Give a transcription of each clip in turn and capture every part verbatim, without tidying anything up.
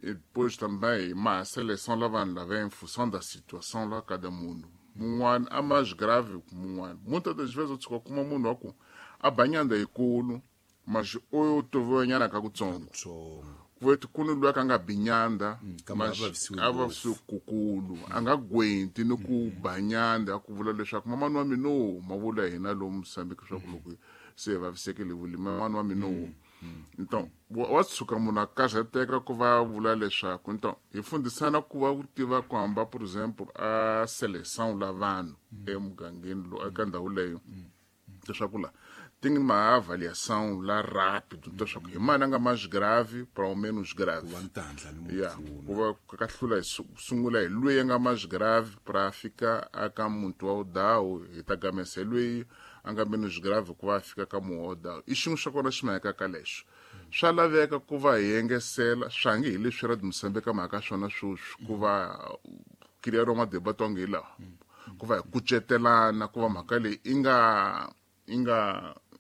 E depois também uma seleção lá vanhu lava em função da situação lá cada munhu mun'wana a mais grave ku mun'wana. Muitas das vezes u tshuka kuma munhu wa ku a ba nyanda yikulu mas oyo tovoyanyana ka kutsongo kuvetu kuni loyi a nga bi nyanda kambe a vavisiwe kukulu a nga gwenti ni ku ba nyanda ku vula leswaku mamani wa mina o ma vula hina lomu Mozambique swa ku loko se vavisekile vuli mamani wa mina o. Então wa tshuka munhu a karhateka ku va vula leswaku então hi fundisana ku va ku tiva ku hamba por exemplo a seleção la vanhu emugangeni lowu eka ndhawu leyo leswaku la tem uma avaliação lá rápido leswaku hi mani a nga mais grave para o menos grave yeah ku va ka hlula sungula hi loyi a nga mais grave para fika aka muntu wa dawu hi ta gamesa loyi a nga menos grave ku va fika ka munhu wa dawu i xin'we xa kona xi maheka ka lexo swa laveka ku va hi engesela swa nge hi leswi ra Mozambique mhaka swona sweswi ku va criar uma debate onge hi lawa ku va hi kucetelana ku va mhaka leyi i nga i nga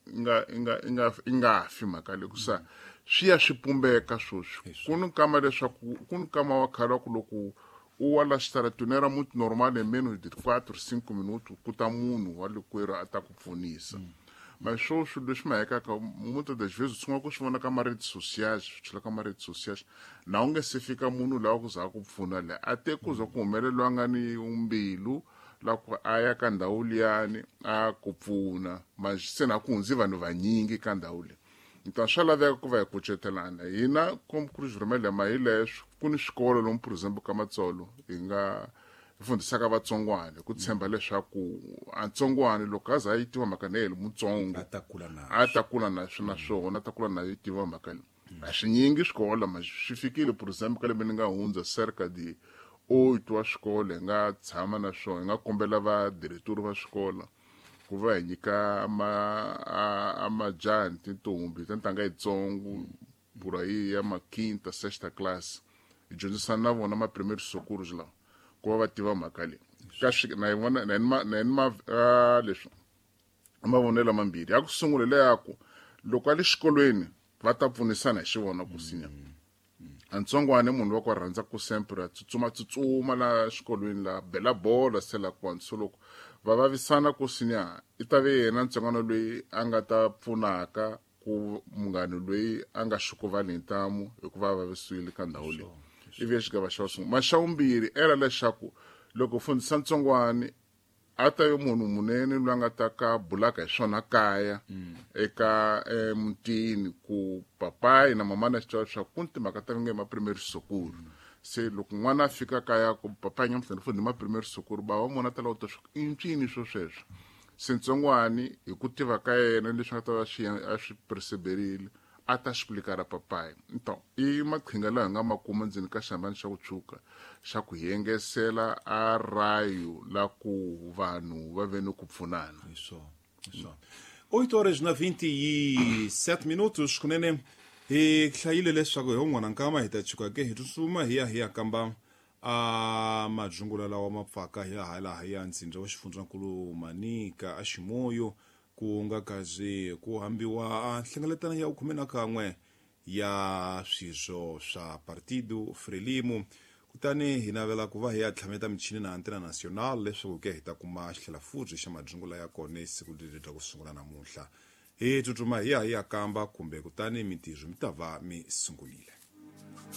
nga nga nga nga fi mhaka leyi ku sa swi ya swi pumbeka sweswi ku ni kama leswaku ku ni kama wa khale wa ku loko u wa la xitaratini era muito normal em menos de quatro cinco minutos ku ta munhu wa le kwerhu a ta ku pfunisa. Mas sweswi leswi mahekaka muitas das vezes u sungula ku swi vona ka ma-redes sociais swi chela ka ma-redes sociais na u nge se fika munhu lawa ku za ku pfuna le a te ku za ku humeleliwa nga ni mbilu la ku a ya ka ndhawu liyani a ku pfuna mas se na ku hundzi vanhu vanyingi ka ndhawu leyi. Então swa laveka ku va hi kucetelana hina como Cruz Vermelha ma hi leswo ku ni swikolo lomu por exemplo ka Matsolo hi nga hi fundisaka vatsongwana ku tshemba leswaku a ntsongwana loko a za a yi tiva mhaka leyi mutsongo a ta kula na a ta kula na swona swona a ta kula na yi tiva mhaka leyi. A swi nyingi swikolo ma swi fikile por exemplo ka lembe ni nga hundza cerca de oito wa swikolo hi nga tshama na swona hi nga kombela vadiretori va swikolo ku va hi nyika ma a majaha ni tintombi ta ntanga yitsongo por aí ya ma quinta sexta classe hi dyondzisana na vona ma primeiro socorros lawa ku va va tiva mhaka leyi ka swi na yi vona na ma na ma leswi mavonelo mambirhi ya ku sungula leyaku loko a le xikolweni va ta pfunisana hi xivona ku sinya a ntsongwana munhu wa ku rhandza ku sempre a tsutsuma tsutsuma la xikolweni la bela bola se la ku so loko va vavisana ku sinya i ta ve yena ntsongwana loyi a nga ta pfunaka ku munghana loyi a nga xukuvali hi ntamu hikuva a vavisiwile ka ndhawu leyi ivi xigava xa sungula maxa vumbirhi era leswaku loko fundisa ntsongwani a ta yo munhu munene loyi a nga ta ka bulaka hi swona kaya eka emutini ku papayi na mamana xi tiva leswaku ku ni timhaka ta nge ma primeiro socorro se loko n'wana a fika kaya ku papayi nyamuhla ni fundi ma primeiro socorro bava mona ta lava ku ta swa i ncini swo sweswo se ntsongwani hi ku tiva ka yena leswi nga ta va swi a swi perseverile a ta explicar papai. Então i maqhinga lawa hi nga ma kuma ndzeni ka xihambano xa ku tshuka xa ku hi engesela a rayo la ku vanhu va ve ni ku pfunana. Isso, isso. oito horas na vinte e sete minutos kunene hi hlayile leswaku hi un'wana nkama hi ta chuka ke hi tsutsuma hi ya hi ya kamba a majungula lawa ma pfaka hi laha laha ya ndzindza wa xifundzankulu Manica a Ximoyo ku nga kazi ku hambiwa a nhlengeletano ya khume na kan'we ya swirho swa Partido Frelimo kutani hi navela ku va hi ya tlhameta michini na Antena Nacional leswaku ke hi ta kuma xitlhela xa majungula ya kona siku leri ra ku sungula namuntlha hi tsutsuma hi ya hi ya kamba kumbe kutani mintirho mi ta va mi sungulile.